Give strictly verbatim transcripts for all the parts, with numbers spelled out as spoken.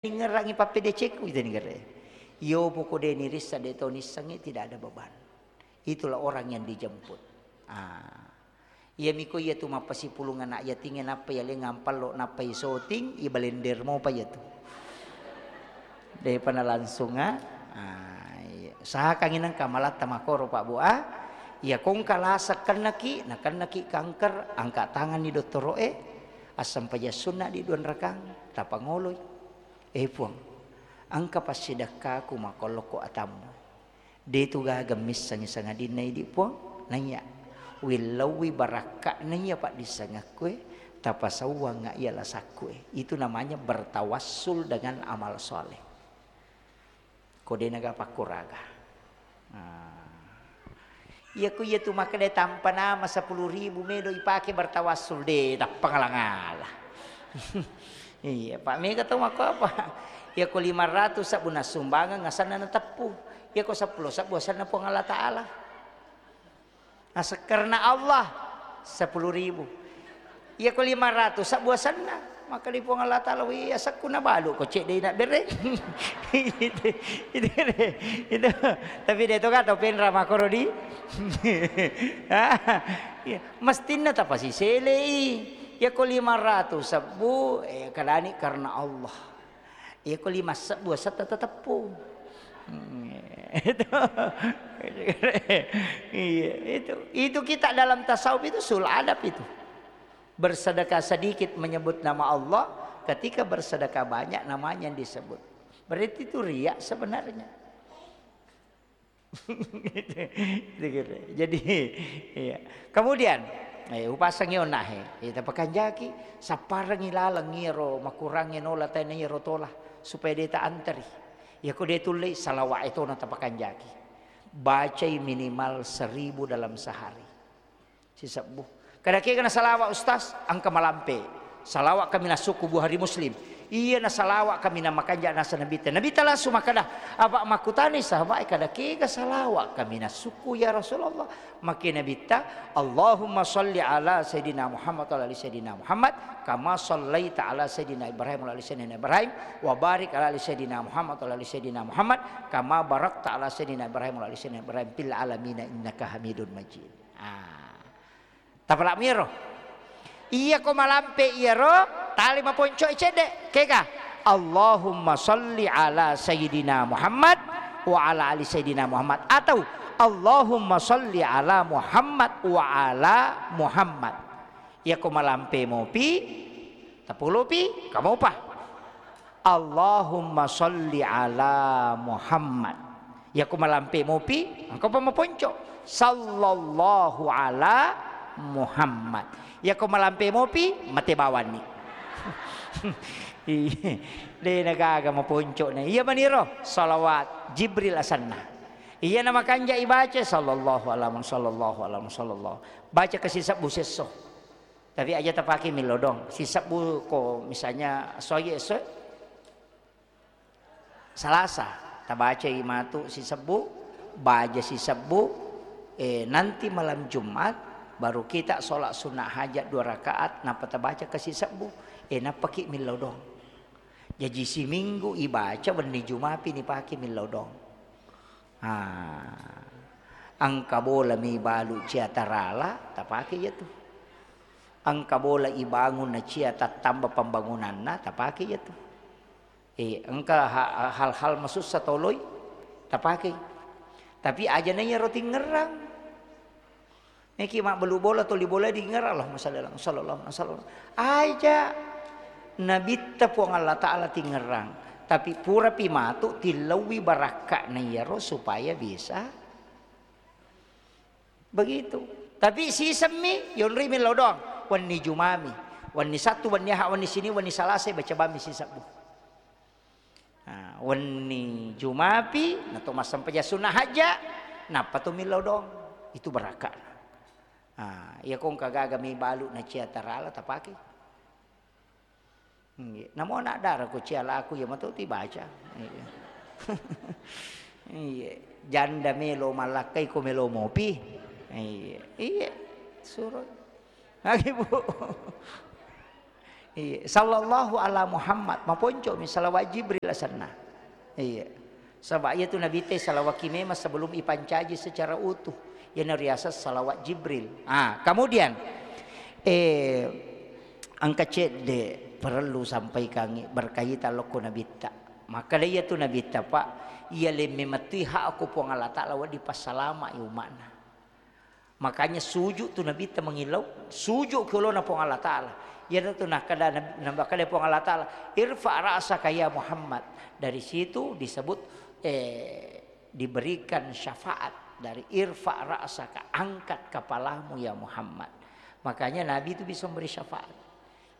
ningerangi pappedecekku, ita nigere. Iyo, poko de nirissa, de to nissengngi, tidak ada beban. Itulah orang yang dijemput. Ah. Iyami ko iyatu mappasipulung anak yatingnge, nappa yaleng ampallo, nappa isoting, ibalender mopa iyatu. Depa nalangsung, ah. Ah, iya. Usahakangngi nengka malatta makoro, Pak Bu, ah. Iya, ko engka lasa kennaki, nakennaki kanker, angka tanganni dottoro'e, assempajang sunna di dua rakang, tapangoloi. Eh, Puang, engka passidekkaku makkollokko atammu. De tu gaga missengngi sangadinna idi, Puang. Naiya, willauwi barakka'na iya paddissengekkue, tapasauwangnga iya lasakkue. Itu namanya bertawassul dengan amal soleh. Ko de naga pakkuraga. Ah. Iya, ku iya tu makkeda tampa nama sepuluh ribu medo ipake bertawassul, de, tappa ngala-ngala. Iya, Pak, mega tau makko apa? Iya, ko lima ratus sabbu nassumbangeng, asanna nateppu. Iya, ko seppulo sabbu asanna Puang Allah Ta'ala. Asa-, karena Allah, sepuluh ribu. Iya, ko lima ratus sabbu asanna. Maka di Puang Allah Ta'ala, "Wih, asakku nabalu ko cedde na bere." Itu, itu, itu. Tapi de to ka tau penra makoro di. Iya, mestinna tapasiselei. Iya, ko lima ratus sabbu, eh, kadani karena Allah. Iya, ko lima sebbu asatta teteppu. Hmm, itu. Iya, itu. Itu kita dalam tasawuf itu sul adab itu. Bersedekah sedikit menyebut nama Allah, ketika bersedekah banyak namanya yang disebut. Berarti itu riya sebenarnya. Gitu, gitu. Jadi, iya. Kemudian, eh, upasangi onnahe, eh, tapakanjaki, sapparengi laleng iyaro makurangnge nola tena iyaro tola, supaya de ta anteri. Iya, ko de tullei, salawat e tona tapakanjaki. Bacai minimal seribu dalam sehari. Sisebbu. Kada kega na salawat, Ustaz? Engka malampe. Salawat kaminang sukku Bukhari Muslim. Iya, na salawat kaminang makanja nasa Nabitta. Nabitta langsung makkeda, apa makkutani sahabat, kada kega salawat kaminang sukku, ya Rasulullah? Makke Nabitta, "Allahumma salli ala Sayyidina Muhammad wa ala ali Sayyidina Muhammad, kama sallaita ala Sayyidina Ibrahim wa ala ali Sayyidina Ibrahim, wa barik ala ali Sayyidina Muhammad wa ala ali Sayyidina Muhammad, kama barakta ala Sayyidina Ibrahim wa ala ali Sayyidina Ibrahim fil alamina innaka Hamidun Majid." Ah. Tapala'mi ero. Iya, ko malampe iyaro, tali maponco'i cedde. Kega? "Allahumma salli ala Sayyidina Muhammad wa ala ali Sayyidina Muhammad." Atau, "Allahumma salli ala Muhammad wa ala Muhammad." Iya, ko malampe mopi, tapolopi, kamopa. Allahumma salli ala Muhammad. Yako malampe mopi, engka pa maponco. Sallallahu ala Muhammad. Yako malampe mopi, mate bawanni. Iya. De nagaga maponco na. Iya maniro, salawat Jibril asanna. Iya na makanja ibaca, sallallahu ala Muhammad, sallallahu ala Muhammad, sallallahu. Baca kasi sebbu sesso. Tapi aja tapake millau doang. Sisebbu ko misalnya soye esso Salasa, tabacai matu sisebbu, baja sisebbu, eh, nanti malam Jumat baru kita sholat sunnah hajat dua rakaat, nappa tabaca ke sisebbu, eh, nappaki millau doang. Jaji siminggu ibaca wenni Jumapi nipake millau doang. Ah, engka bola mi balu cia tarala, tapake iya tu. Engka bola ibangun na cia tattamba pembangunanna, tapake iya tu. Eh, engka ha-, hal-hal masussa toloi, tapake. Tapi aja na iyaro tingerang. Meki mabbelu bola, toli bola dingerang, Allahumma shalli ala, sallallahu alaihi wasallam. Aja. Nabitta Puang Allah Ta'ala tingerang. Tapi purapi matu tillaui barakka'na iyaro supaya bisa begitu. Tapi sisemmi, yonroi millau doang. Wenni Jumami. Wenni Sattu, wenni Aha, wenni Sini, wenni Salasa, baca bammi sisebbu. Nah, wenni Jumapi, nato massempajang sunnah hajja, nappa to millau doang. Itu barakka'na. Ah, iya ko engka gaga mi balu na cia tarala tapake. Iya. Namo anak dara ko cia laku iya mato tibaca. Iya. Iya. Janda melo mallakkai ko melo mopi. Iya. Iya. Suro. Lagi, Bu. Iya, sallallahu ala Muhammad, maponcomi salawat Jibril asenna. Iya. Saba' iyatu Nabitta salawaki memang sebelum ipancaji secara utuh. Iyana riaseng salawat Jibril. Ah, kemudian, eh, engka cedde' perlu sampaikangi berkaitan lokko Nabitta. Makkeda iyatu Nabitta, Pak, iya lemme mettui hak ko Puang Allah Ta'ala wedding passalama'i umma'na. Makanya sujud tu Nabitta mangillau, sujud ki olona Puang Allah Ta'ala. Iyanatu nakkeda Nab-, nakkeda Puang Allah Ta'ala, "Irfa' ra'saka ya Muhammad." Dari situ disebut, eh, diberikan syafaat dari "Irfa' ra'saka", angkat kepalamu ya Muhammad. Makanya Nabi itu bisa memberi syafaat.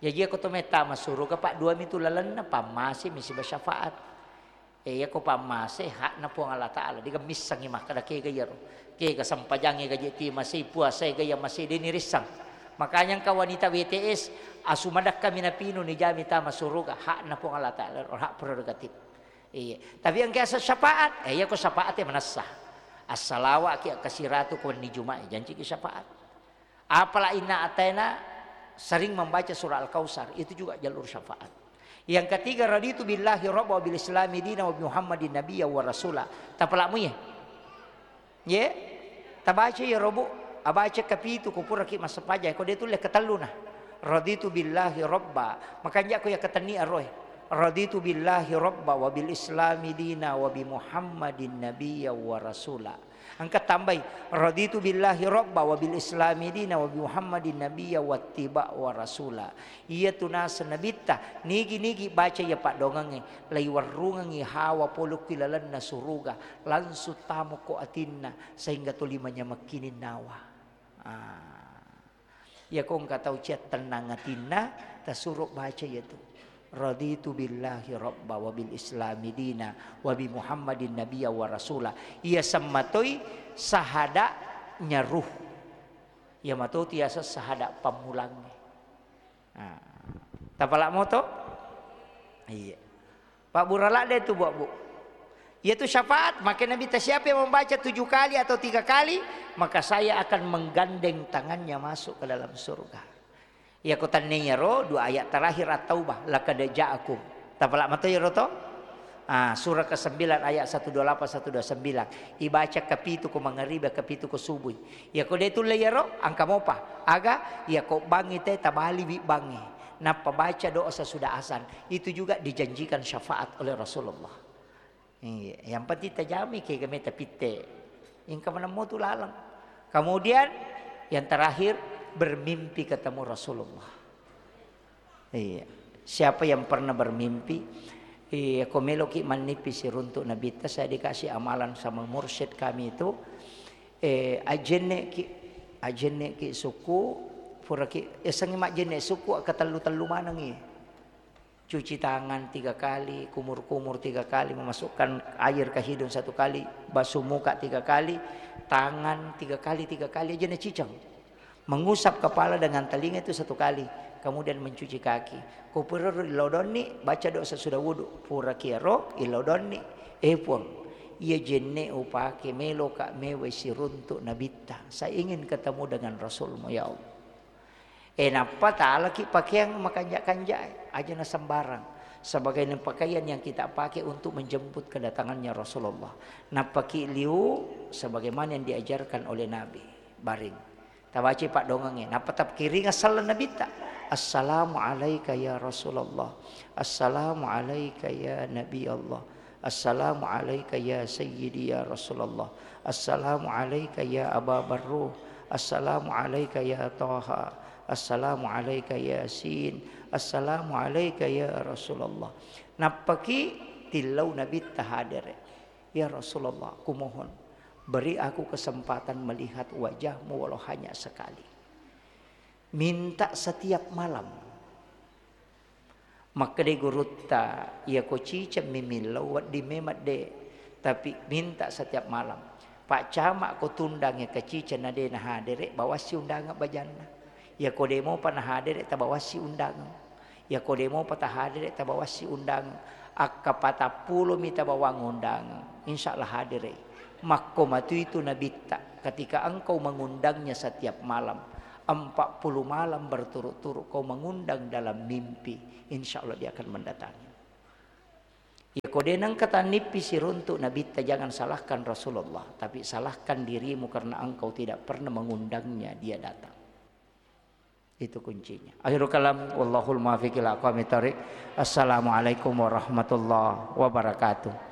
Jaji, iyako to mettama suruga, Pak, dua mitu lalenna, pammase mi siba syafaat. Eh, iyako pammase hakna Puang Allah Ta'ala, dega missengi makkeda kega iyaro. Kega sempajangnge gaje ti masei, puasa ega iya masei, de' nirissang. Makanya engka wanita W T S, asu madakka mi napinu, nijami tama suruga, hakna Puang Allah Ta'ala, hak prerogatif. Iya. Tapi engka asa syafaat, eh, iyako syafaat e manessa. Assalawa ki akkasiratu ko wenni Juma'i, janci ki syafaat. Apala inna ataina sering membaca surah Al-Kautsar, itu juga jalur syafaat. Yang ketiga, raditu billahi rabba wa bil islami dina wa bi Muhammadin nabiyya wa rasula. Tapalakmu ye? Ye? Tabaca ya robu, abaca kapitu ko puraki massempajang, ko de tulle ketelluna. Raditu billahi rabba, makanja ko ya ketenni aroe. Raditu billahi rabba wa bil islami dina wa bi Muhammadin nabiyya wa rasula. Engka tambai, "Raditu billahi rabba wa bil islami dina wa bi Muhammadin nabiyya wattiba wa rasula." Iyatu naseng Nabitta, nigi-nigi baca iya paddoangengnge, laiwerrungengngi hawa pole ki lalenna suruga, langsung tamo ko atinna, sehingga tuli manyamekkining nawa. Ah. Iyako engka tau cia tennang atinna, tasuro baca iyatu. Raditu billahi rabba wa bil islami dina wa bi Muhammadin nabiyya wa rasula. Iya semmatoi sahada'nya ruh. Iya matotu yaseng sahada' pammulangnge. Nah, tapalak moto? Iya. Pabbura ladde tu, Bu, Bu. Iyatu syafaat, maka Nabitta, "Siapa yang membaca tujuh kali atau tiga kali, maka saya akan menggandeng tangannya masuk ke dalam surga." Iyako tenniyaro, dua ayat terakhir At-Taubah, "Laqad ja'akum." Tapalak mato iyaro to? Ah, surah kesembilan ayat satu dua lapan, satu dua sembilan. Ibaca kapitu ko mangaribi, kapitu ko subui. Iyako de tulle iyaro, engka mopa. Aga, iyako bangngi te tabaliwi bangnge. Nappa baca doa sesudah azan. Itu juga dijanjikan syafaat oleh Rasulullah. Iya, yang penting tajami kega meta pitte. Engka manemmo tu laleng. Kemudian yang terakhir, bermimpi ketemu Rasulullah. Iya. Siapa yang pernah bermimpi, iya, ko meloki mannipi siruntuk Nabitta, saya dikasih amalan sama mursyid kami itu, eh, ajenneki, ajenneki suku, puraki, yasengngi majjenne suku, katellu-tellu manengi. Cuci tangan tiga kali, kumur-kumur tiga kali, memasukkan air ke hidung satu kali, basuh muka tiga kali, tangan tiga kali, tiga kali aja naciceng. Mengusap kepala dengan telinga itu satu kali, kemudian mencuci kaki. Ko pura ilodonni, baca doa sesudah wudu. Pura kiaro, ilodonni, eh Puang, iya jenne upake meloka mewai siruntuk Nabitta. Saya ingin ketemu dengan Rasulmu, ya Allah. Eh, nappa talaki pakeang makanja-kanja, aja na sembarang. Sebagai pakaian yang kita pakai untuk menjemput kedatangannya Rasulullah. Nappaki liu sebagaimana yang diajarkan oleh Nabi. Baring. Tabaci paddoangengnge. Nappa tapkiringa sallang Nabitta. "Assalamu alaika ya Rasulullah. Assalamu alaika ya Nabi Allah. Assalamu alaika ya Sayyidi ya Rasulullah. Assalamu alaika ya Aba Barruh. Assalamu alaika ya Taha. Assalamu alaika Yasin. Assalamu alaika ya Rasulullah." Nappaki tillau Nabitta hadere. "Ya Rasulullah, kumohon, beri aku kesempatan melihat wajahmu walau hanya sekali." Minta setiap malam. Makkedai gurutta, "Iyako ciceng mi millau, wedding memang de', tapi minta setiap malam. Pak Camat ko tundangnge kaciceng na de' nahadere', bawassi undangan bajanna. Iyako de' mopa nahadere', tabawassi undangan. Iyako de' mopa tahadere', tabawassi undangan. Akka patappulo mi tabawang undangan, insya Allah hadere'." Makko matu itu Nabitta, ketika engkau mengundangnya setiap malam, Empat puluh malam berturut-turut kau mengundang dalam mimpi, insya Allah dia akan mendatangi. Ya, ko de nengka tannippi siruntuk Nabitta, jangan salahkan Rasulullah, tapi salahkan dirimu karena engkau tidak pernah mengundangnya dia datang. Itu kuncinya. Akhirul kalam, wallahul muwaffiq ila aqwamit thariq. Assalamualaikum warahmatullahi wabarakatuh.